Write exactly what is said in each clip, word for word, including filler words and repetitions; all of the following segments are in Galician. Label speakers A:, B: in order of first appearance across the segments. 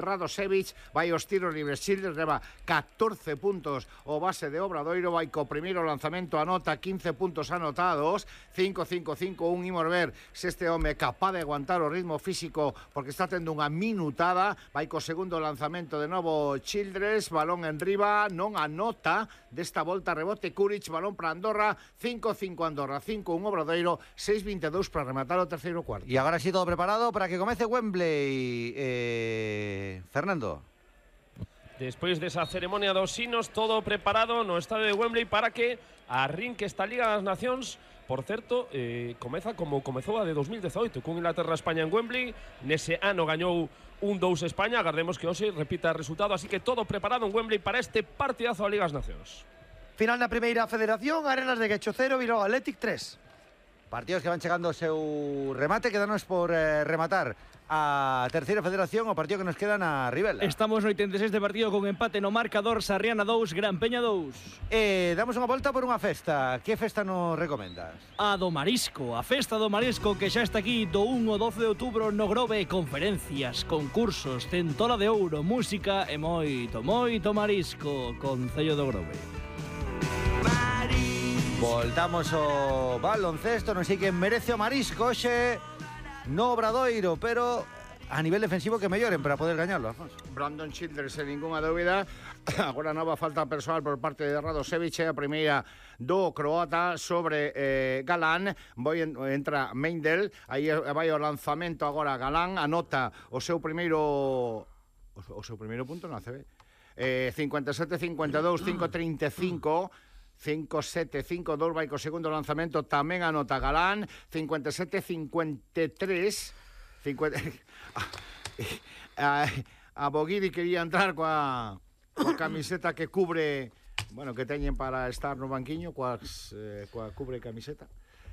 A: Radosevic, vai os tiros libres. Childress leva catorce puntos o base de Obradoiro, vai co primeiro lanzamento, anota quince puntos anotados, cinco cinco cinco un. Imos ver se este home é capaz de aguantar o ritmo físico porque está tendo unha minutada. Vai co segundo lanzamento de novo Childress, balón en riba, non anota desta volta, rebote Kuric, balón para Andorra, cinco cinco Andorra, cinco un Obradoiro, seis veintidós para rematar o terceiro cuarto.
B: Y ahora sí todo preparado para que comece Wembley. Eh... Fernando.
C: Despois desa ceremonia dos sinos, todo preparado no estadio de Wembley para que arrinque esta Liga das Nacións. Por certo, eh, comeza como comezou a de dos mil dezaoito, con Inglaterra-España en Wembley. Nese ano gañou un dous España, agardemos que hoxe repita o resultado, así que todo preparado en Wembley para este partidazo da Liga das Nacións.
D: Final na primeira federación, Arenas de Guecho cero, Bilbao Athletic tres.
B: Partidos que van chegando ao seu remate, quedanos por eh, rematar a terceira federación, o partido que nos queda na Ribela.
E: Estamos no oitenta e seis de partido con empate no marcador, Sarriana dous, Gran Peña dous.
B: Eh, damos unha volta por unha festa. Que festa nos recomendas?
E: A do Marisco, a festa do Marisco que xa está aquí do un ao doce de outubro no Grove. Conferencias, concursos, centola de ouro, música e moito, moito marisco. Concello do Grove.
B: Voltamos ao baloncesto, non sei quen merece o marisco hoxe no Obradoiro, pero a nivel defensivo que melloren para poder gañarlo, Alfonso.
A: Brandon Childress, sen ninguna dúbida. Agora nova falta persoal por parte de Radosevic, a primeira do croata sobre eh, Galán. Voi en, entra Meindel, aí vai o lanzamento agora Galán, anota o seu primeiro o, o seu primeiro punto na C B. Eh, cincuenta e sete cincuenta e dous, cinco treinta e cinco. cinco sete cinco dos, vai co segundo lanzamento, tamén anota Galán, cincuenta e sete cincuenta e tres. cincuenta... a, a Boguiri quería entrar coa, coa camiseta que cubre, bueno, que teñen para estar no banquiño, coas, eh, coa cubre camiseta,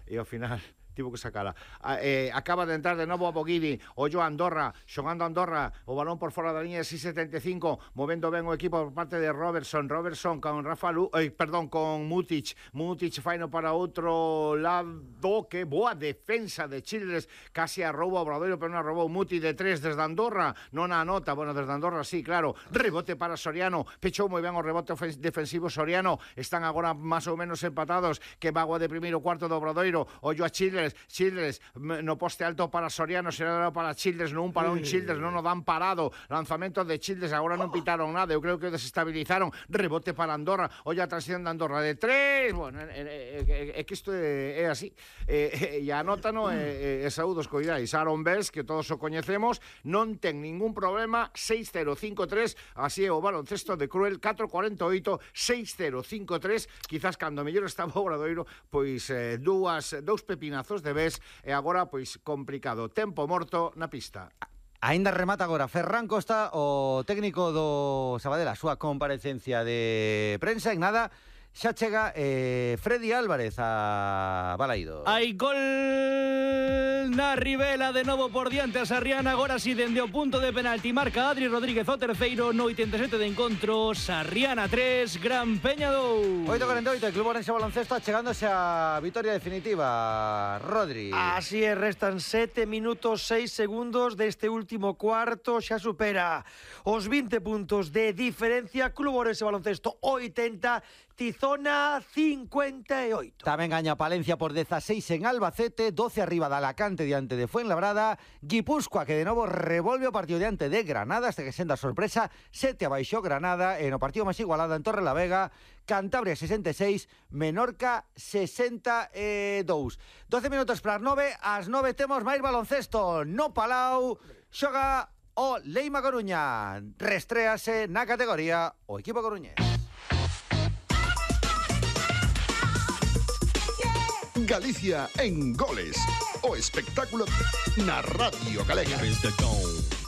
A: e ao final tivo que sacala. A, eh, acaba de entrar de novo a Boguiri, ollo a Andorra, xogando a Andorra, o balón por fora da liña de seis setenta e cinco, movendo ben o equipo por parte de Robertson, Robertson con Rafa Lu, eh, perdón, con Mutic, Mutic faino para outro lado, que boa defensa de Childress, casi a roubo a Obradoiro, pero non a roubou Mutic de tres desde Andorra, non a anota, bueno, desde Andorra sí, claro, rebote para Soriano, pechou moi ben o rebote defensivo Soriano, están agora máis ou menos empatados, que vago de primeiro cuarto do Obradoiro, ollo a Childress, Childress no poste alto para Soriano, será para Childress, non un para un Childress, non o dan parado, lanzamento de Childress, agora non pitaron nada, eu creo que o desestabilizaron, rebote para Andorra, olla a transición de Andorra de tres, bueno, é, é, é que isto é, é así, e, e anótano e, e saúdos coidais, Aaron Bells, que todos o coñecemos, non ten ningún problema, seis cero cinco tres, así é o baloncesto de Cruel, catro cuarenta e oito, seis cero cinco tres, quizás cando mellor estaba o Obradoiro, pois eh, dúas, dous pepinazos de vez, e agora pois complicado, tempo morto na pista.
B: Ainda remata agora Ferran Costa, o técnico do Sabadell, a súa comparecencia de prensa, en nada xa chega eh, Freddy Álvarez a Balaído.
E: Hai gol na Ribela, de novo por diante a Sarriana, agora si dende o punto de penalti marca Adri Rodríguez o terceiro no oitenta e sete de encontro. Sarriana tres, Gran Peña dous.
B: oito cuarenta e oito, el Club Orense Baloncesto chegándose a vitoria definitiva, Rodri.
D: Así é, restan sete minutos seis segundos deste último cuarto, xa supera os vinte puntos de diferencia. Club Orense Baloncesto oitenta, Tizona cincuenta e oito.
B: Tamén gaña Palencia por dieciséis en Albacete, doce arriba de Alacante diante de Fuenlabrada, Guipúzcoa que de novo revolve o partido diante de Granada, hasta que senda sorpresa, sete abaixo Granada, en o partido máis igualado en Torrelavega, Cantabria sesenta e seis, Menorca sesenta e dous. doce minutos para as nove, ás nove temos máis baloncesto no Palau, xoga o Leima Coruña, restréase na categoría o equipo coruñés.
F: Galicia en goles, o espectáculo na Radio Galega.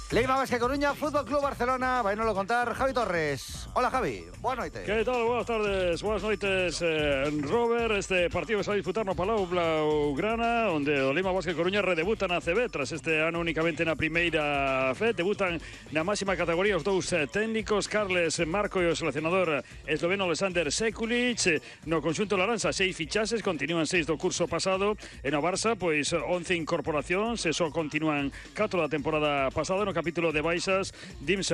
B: Leima Basque Coruña, Fútbol Club Barcelona, vai nos lo contar Javi Torres. Hola Javi, boa noite.
G: Que tal, buenas tardes, buenas noites, eh, Robert. Este partido que se vai disputar no Palau Blaugrana, onde o Leima Basque Coruña redebuta na C B tras este ano únicamente na primeira F E D. Debutan na máxima categoría os dous eh, técnicos, Carles Marco e o seleccionador esloveno Alexander Sekulic. No conxunto laranxa, seis fichases, continúan seis do curso pasado. E no Barça, pois once incorporacións, e só continúan catro da temporada pasada. No capítulo de baixas, Dimsa